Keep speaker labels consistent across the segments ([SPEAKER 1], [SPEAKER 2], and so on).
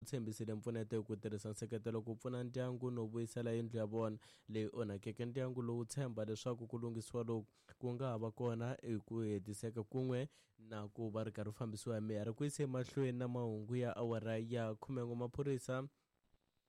[SPEAKER 1] Tshembisile mpfuneto hi ku tirhisa nseketelo ku pfuna ndyangu no vuyisela yindlu ya vona leyi onhakeke. Ndyangu lowu tshemba leswaku ku lunghisiwa loku ku nga ha va kona hi ku hetiseka kun'we na ku va ri karhi fambisiwa hi meyara. Ku yisa emahlweni na mahungu ya awara ya 11, maphorisa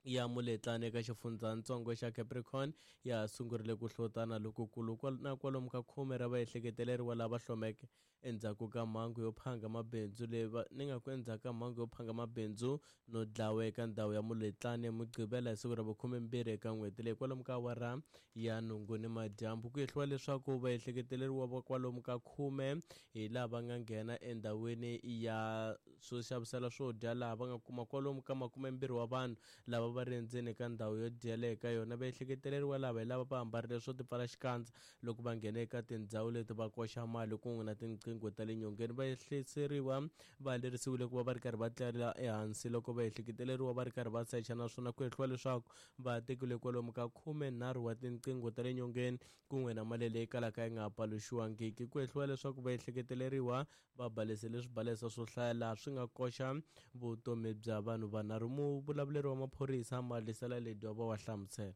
[SPEAKER 1] ya Muletlane eka xifundzatsongo xa Capricorn ya sungurile ku hlotana lokukulu na kwalomu ka khume ra vaehleketeleriwa lava hlomeke endzhaku ka mhangu yo phanga mabindzu leyi va ni nga ku endzhaku ka mhangu yo phanga mabindzu no dlawa eka ndhawu ya Muletlane Mugqivela hi siku ra vukhume-mbirhi eka n'hweti leyi kwalomu ka awara ya nhungu ni madyambu. Ku hehliwa leswaku vaehleketeleriwa va kwalomu ka khume hi lava nga nghena endhawini ya swo xavisela swo dya laha va nga kuma kwalomu ka 20 wa vanhu lava va ri endzeni ka ndhawu yo dyela eka yona. Vaehleketeleriwa lava hi lava va ambarile swo tipfala xikandza loko va nghena eka tindhawu leti va koxa mali kun'we na tinqingho ta le nyongeni. Vaehleketeleriwa va lerisiwile ku va va ri karhi va tlela ehansi loko vaehleketeleriwa va ri karhi va secha, naswona ku hehliwa leswaku va tekile kwalomu ka 13 wa tinqingho ta le nyongeni kun'we na mali leyi kalaka yi nga paluxiwangiki. Ku hehliwa leswaku vaehleketeleriwa va balesele swibalesa swo hlaya laha swi nga koxa vutomi bya vanhu vanharhu. Muvulavuleri wa maphorisa Malisela Ledwaba wa hlamusela.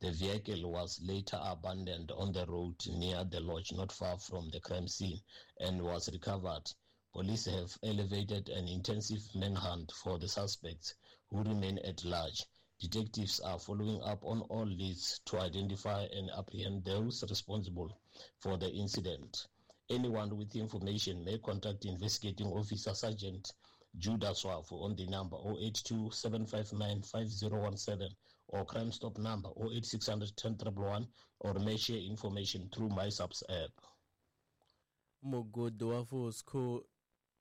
[SPEAKER 2] The vehicle was later abandoned on the road near the lodge not far from the crime scene and was recovered. Police have elevated an intensive manhunt for the suspects who remain at large. Detectives are following up on all leads to identify and apprehend those responsible for the incident. Anyone with information may contact investigating officer Sergeant Judah Swafu on the number 082-759-5017 or Crime Stop number 08600 10 111 or may share information through MySAPS app.
[SPEAKER 1] Mugodi wa Fosco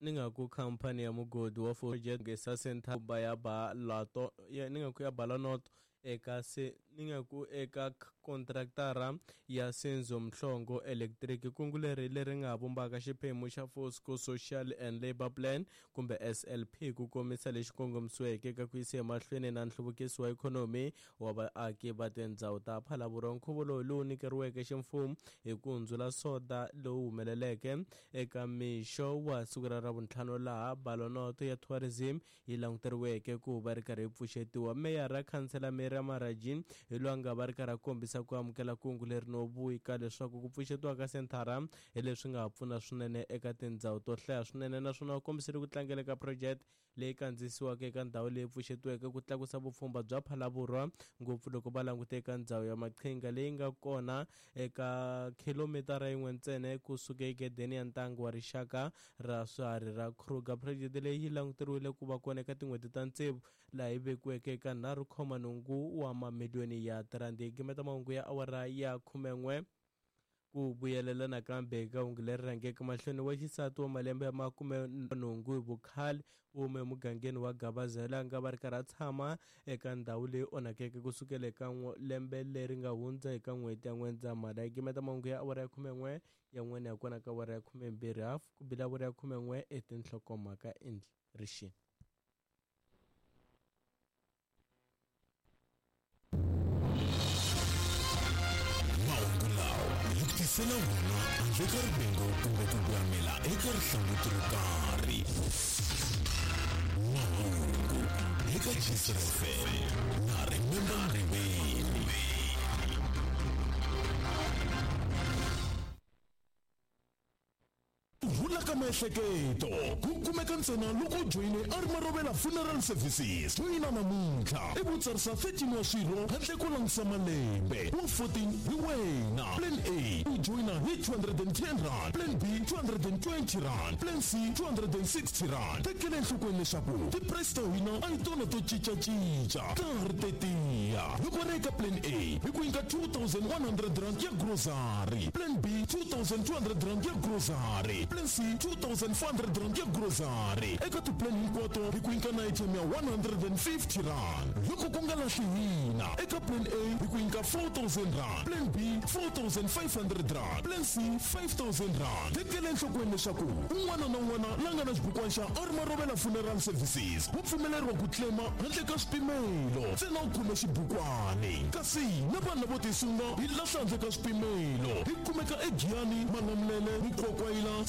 [SPEAKER 1] ni nga ku khampani ya mugodi wa Fosco Center ba ya ba lato ya ni nga ku ya Balanoto eka se ni nga ku eka kontraktara ya Senzo Mhlongo Electric. Kungu leri leri nga vumbaka xiphemu xa Fosco Social and Labour Plan kumbe SLP ku komisa lexi kongomisiweke eka ku yisa emahlweni na nhluvukiso wa ikhonomi wa vaaki va tindhawu ta Phalaborwa. Nkhuvo lowu lowu nyikeriweke ximfumo hi ku hundzula soda lowu humeleleke eka mixo wa siku ra Ravuntlhanu laha Balonoto ya Tourism yi languteriweke ku va ri karhi yi pfuxetiwa. Meyara Khansela Mary Maraji hi loyi a nga va ri karhi a kombisa ku amukela kungu leri no vika leswaku ku pfuxetiwa ka senthara hi leswi nga ha pfuna swinene eka tindhawu to hlaya swinene, naswona u kombisile ku tlangela ka project leyi kandziyisiwaka eka ndhawu leyi pfuxetiweke ku tlakusa vupfhumba bya Phalaborwa, ngopfu loko va langute eka ndhawu ya maqhinga leyi nga kona eka khilomitara yin'we ntsena kusuka egedeni ya ntangu wa rixaka ra swiharhi ra Kruger. Project leyi yi languteriwile ku va kona eka tin'hweti ta tsevu laha yi vekiweke eka 3.8 wa mamiliyoni ya tirandi. Hi gimeta mahungu ya awara ya 11 ku vuyelela nakambe eka hungu leri rhangeke mahlweni. Wa xisati wa malembe ya 80 hi vukhale u hume emugangeni wa Gabazela a nga va ri karhi a tshama eka ndhawu leyi onhakeke kusukela eka lembe leri nga hundza eka n'hweti ya N'wendzamhala. Hi gimeta mahungu ya awara ya 11 ya n'wene ya kona ka awara ya 12 hafu ku bila awara ya 11 etinhlokomhaka endli rixini.
[SPEAKER 3] Mahungu lawa hi ku tisela wona handle ka rivengo kumbe ku gwamela eka rihlanguti ro karhi. Mahungu eka Jisr FM na Remember Mriveni. Ku rhula ka miehleketo ku kumeka ntsena loko u joyine Armarovela Funeral Services. Joyina namuntlha ivi u tsarisa 13 wa swirho handle ko langutisa malembe. Wa 14 hi wena. Plan A u joyina hi 210 rand, Plan B 220 rand, Plan C 260 rand. Tekela enhlokweni leswaku ti-price ta hina a hi tona to cincacinca, ta ha ri tetiya. Loko ri eka Plan A hi ku nyika 2100 rand ya grocery, Plan B 2200 rand ya grocery, Plan C 2400 rand ya grocery. Eka ti-plan hinkwato hi ku nyika na airtime ya 150 rand. Loko ku nga lahli hina, eka Plan A hi ku nyika 4000 rand, Plan B 4500 rand, Plan C 5000 rand. Tekela enhlokweni leswaku un'wana na un'wana la nga na xibukwana xa Armarovela Funeral Services wa pfumeleriwa ku claima handle ka swipimelo, ntsena u khome xibukwani. Kasi na vanhu lavo tisunga hi lahla handle ka swipimelo. Hi kumeka eGiyani, Malamulele, Mukwakwayila,